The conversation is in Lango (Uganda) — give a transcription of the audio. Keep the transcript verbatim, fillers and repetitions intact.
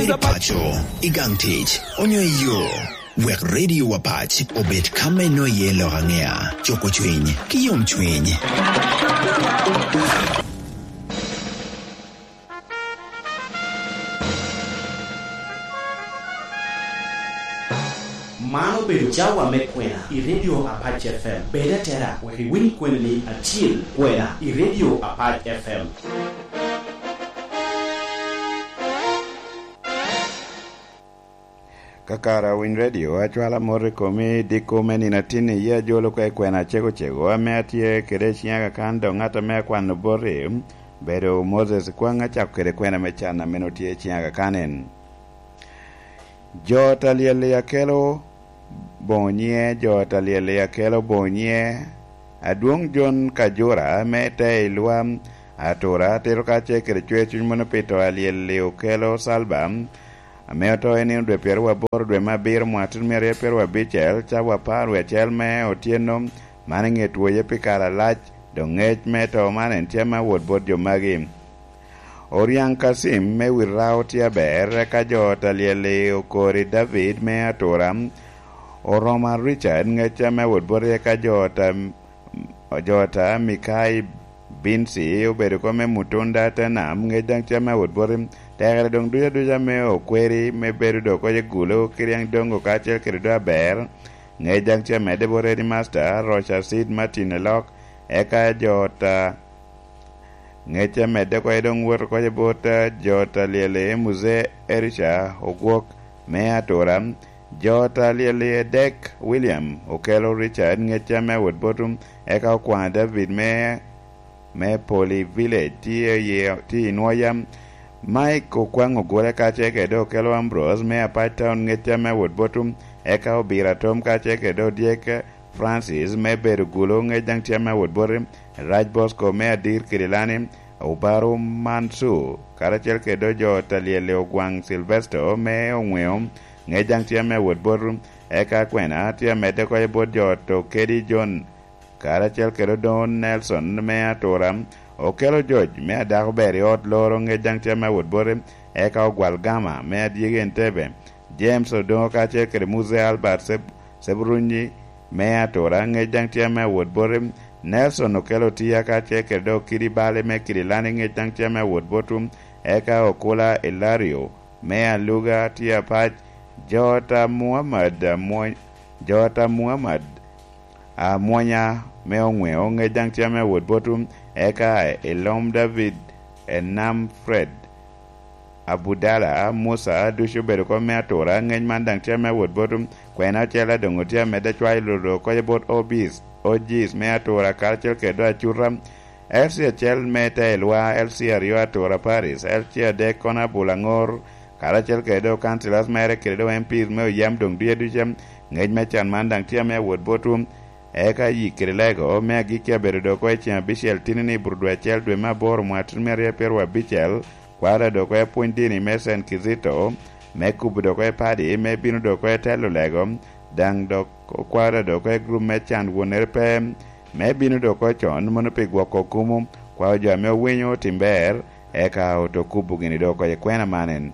I paco, i gang tic, onyo i yo, wek Radio Apac obed ka me nwoyo iye lok aŋea, cuko cwiny, ki yomcwiny. Man obedo cawa me kwena i Radio Apac F M. Bed atera wek iwiny kweni ni acil kwena i Radio Apac F M. Ka kara winy redio, acwala mot i komi diko me nino atin i yee ajolo ka i kwena acego cego ame atye kede i ciŋa kakan, dok ŋat ame akwano boti bedo Moses Kwaŋ, acako kede kwena me can a meno tye i ciŋa kakan en. Jo ta lyel-li akelo boŋo nyiŋe, jo ta lyel-li akelo boŋo nyiŋe. Adwoŋ Jon Kajura me te i Lwa, Atura, tito kacel kede cwer cuny mono pi to a lyel-li okelo Salba, ame oto i nino dwe pyeraryo aboro dwe me abiro mwaka tutumia aryo pyeraryo abicel, cawa apar wie acel me otyeno, man i ŋe twoye pi kare alac, dok ŋec me to man en tye ame awot bot jo magi. Oryaŋ Kacim me Wirrao tye aber, eka jo ta lyel-li okori David me Atura, Oroma Richard ŋec ame awot boti, eka jo ta, jo ta Mikai Binsi obedo kom me Mutunda te nam, ŋec daŋ tye ame awot boti. Tekere doŋ duca duca me okweri me bedo dok oye gulo, Kiriaŋ Dongo kacel kede do aber, ŋec daŋ tye amedde bot Eddie Master, Rocha Seid Martin Elok, eka jo ta Ŋec amedde oko doŋ wot oko bot, eh, jo ta lyel i Muzee Elisha Ogwok me Atura. Jo ta lyel i Edek William Okelo Richard, ŋec ame awot bot, eka Okwaŋ David me, me Poli Village tye i, tye i Nwoya. Mike Okwaŋ Ogole kacel kede Okelo Ambrose me Apac Town, ŋec ame awot bot, eka Obiro Atom kacel kede Odyek Francis me bedo gulo, ŋec daŋ tye ame awot boti. Rac Bosco me Adir Kidilani, Obaro Mansur, karacel kede jo ta lyel i Ogwaŋ Silvesto me Oŋweo, ŋec daŋ tye ame awot boti. Eka kwena tye amedde oko bot jo to kedi John, karacel kede Odongo Nelson me Atura, Okelo Joc me Adako Ber i Ot Loro, ŋec daŋ tye ame awot boti. Eka Ogwal Gama me Adyegi Entebbe, James Odongo kacel kede Musa Albert Seb-, Sebrunyi me Atura, ŋec daŋ tye ame awot boti. Nelson Okelo Tia kacel kede Okidi Bale me Kidilani, ŋec daŋ tye ame awot bot. Eka Okula Ilario me Aluga tye apac. Jota Muhammad Amwony, Jota Muhammad Amwonya me Oŋweo, ŋec daŋ tye ame awot bot. Eka Elom David, Enam Fred, Abudala Musa, ducu obedo kom me Atura, ŋec man daŋ tye ame awot bot. Kwena ocele doŋ otye amedde cwayo lodo oko bot Obis, Ojis me Atura, karacel kede Acuta. L C acel me Teelwa, L C aryo Atura Paris, L C adek kono Abulaŋor, karacel kede do councillors mere kede do M Ps me Oyam doŋ duye duce, ŋec me can man daŋ tye ame awot bot. Eka yik kede lego me agikki abedo dok oko i ceŋ abicel tini ni i buto dwe acel dwe me aboro mwaka tutumia aryo pyeraryo abicel, kwaro dok oko i apwony dini me Saint Kizito, me kubo dok oko i padi, me bino dok oko i telo lego, daŋ dok okwaro dok oko i gurup me can wonere pe, me bino dok oko con, mono pi gwoko kumo, kwaro jo ame owinyo otim ber, eka oto kubo gini dok oko i kwena man en.